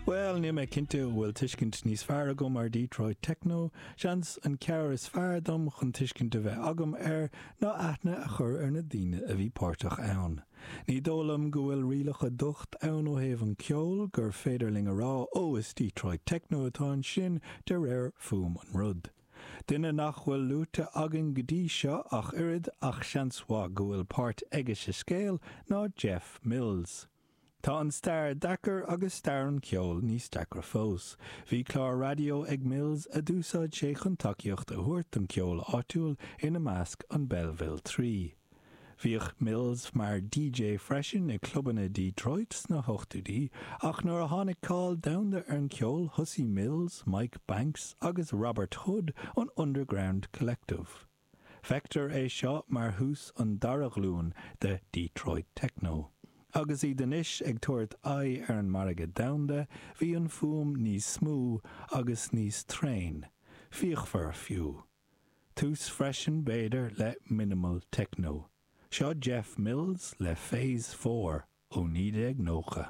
Bhuel, níl mé cinnte an bhfuil tuiscint níos fearr agam ar Detroit Techno, seans an cabhair is fearr dom chun tuiscint a bheith agam air ná aithne a chur ar na daoine a bhí páirteach ann. Ní dóigh liom go bhfuil rialacha docht ann ó thaobh an ceoil, gur féidir linn a rá 'ó is Detroit Techno atá ansin de réir fuaim an rud'. Duine nach bhfuil luaite againn go dtí seo ach oiread, ach seans mhaith go bhfuil páirt aige sa scéal, ná Jeff Mills. Tá an stair deacair agus stair an cheoil níos deacra fós. Bhí clár raidió ag Mills a d'úsáid sé chun tacaíocht a thabhairt don cheol áitiúil, ina measc an Belleville 3. Bhíodh Mills mar DJ freisin i clubanna Detroit sna hochtóidí, ach nuair a tháinig cáil domhanda ar an cheol thosaigh Mills, Mike Banks agus Robert Hood an Underground Collective. Feictear é seo mar thús an dara ghlúin de Detroit Techno. Agus iad anois ag tabhairt aghaidh ar an margadh domhanda, bhí an fuaim níos smooth agus níos tréan, fíochmhar fiú. Tús freisin b'fhéidir le minimal techno. Seo Jeff Mills le Phase 4 ó 1990.